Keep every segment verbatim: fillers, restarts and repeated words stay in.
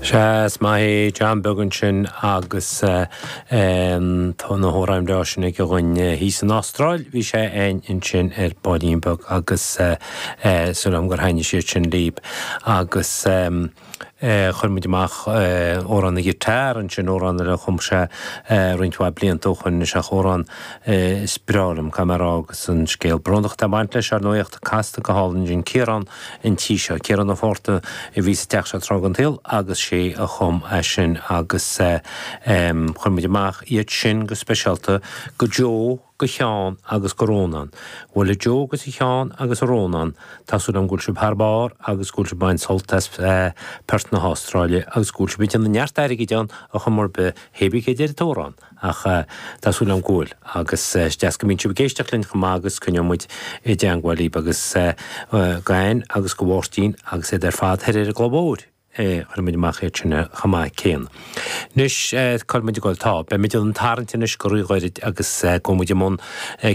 Sea, is maith é John Beag ansin agus tá na hamhráin breá sin aige dhúinn thíos san Astráil. Bhí sé ansin ar baillín beag agus súil agam gur thaitnigh siad sin libh agus chuir muid amach amhrán na guitar ansin, amhrán eile a chum sé roinnt mhaith blianta ó shoin, is ea amhrán is breá liom, caithfidh mé a rá, agus an scéal brónach atá ag baint leis, ar ndóigh, ach tá casta go hálainn ansin, Ciarán an tí seo, Ciarán Ó Fátharta a bhí sa teach seo tráth den tsaol agus sé a chum é sin agus chuir muid amach iad sin go speisialta go Joe, go Sheán agus go Rónán. Bhuel a Joe agus a Sheáin agus a Rónán, tá súil agam go bhfuil sibh thar barr agus go bhfuil sibh ag baint sult as Perth na hAstráile agus go bhfuil sibh ag déanamh neart airgid ann ar chuma ar bith, hé bí cé deir an t-amhrán ach tá súil agam go bhfuil agus is deas go mbíonn sibh ag éisteacht linn chomh maith agus coinneoidh muid i dteangmháil libh agus go Ann agus go Mháirtín agus iad ar fad thoir ar an gCloich Mhóir. Chuir muid amach iad sin chomh maith céanna. Anois, cá bhfuil muid ag dul? Tá, beidh muid ag tarraingt anois go ríghairid agus gabhfaidh muid i mbun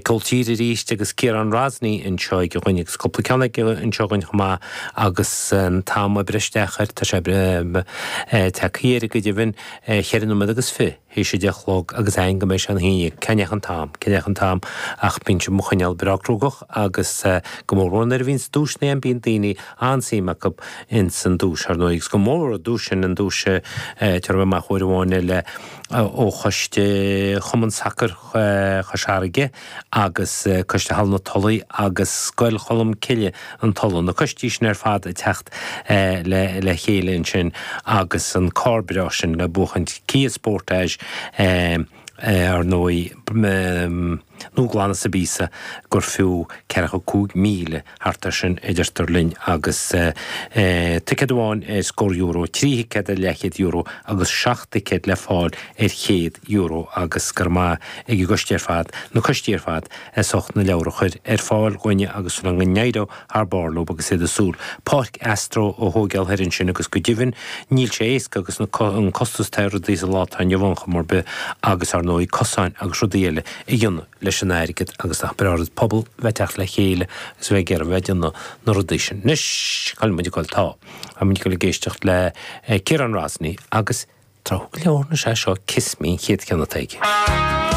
ceol tíre arís agus Ciarán Rosney anseo ag an dhuine agus cúpla ceann aige anseo againn chomh maith agus an t-am ag breith isteach air, tá sé tagtha air go deimhin, cheithre nóiméad agus fiche. théis a deich a chlog agus aon go mbeidh sé ina haon dhéag. Cá ndeachaigh an t-am? Cá ndeachaigh an t-am? Ach bíonn sibh mo choinneáil breá gnóthach agus go mór mhór nuair a bhíonns duaiseanna ann bíonn daoine an-suim acu ins an duais, ar ndóigh, agus go mór an duais sin, an duais tabharfaidh mé amach uair amháin eile ó Choiste Chumann Sacair Chois Fharraige agus Coiste Halla na Tulaí agus Scoil Cholm Cille, an Tulaigh, na coistí sin ar fad ag teacht le chéile ansin agus an carr breá sin le buachaint, Kia Sportage ar ndóigh, nuaghlan sa bpíosa gur fiú ceathracha cúig míle thart air sin a deirtear linn agus ticéad amháin ar scór euro, trí thicéad ar leathchéad euro agus seacht dticéad le fáil ar chéad euro agus go raibh maith ag an gcoiste ar fad, na coistí ar fad as ucht na leabhair a chur ar fáil dhúinne agus go n-éireoidh thar barr leo agus iad ag súil páirc Astro a thóigeáil thoir ansin agus go deimhin níl sé éasca agus na an costas atá ar rudaí sa lá atá inniu ann chuma ar bith agus ar ndóigh cosáin agus rudaí eile a dhéanamh leis an airgead agus nach breá rud pobal bheith teacht le chéile agus bheith ag iarraidh bheith ag déanamh na rudaí sin. Anois, cá bhfuil muid ag dul? Tá. Tá muid ag dul ag éisteacht le Ciarán Rosney agus tráth go leor anois é seo Kiss Me an chéad cheann atá aige.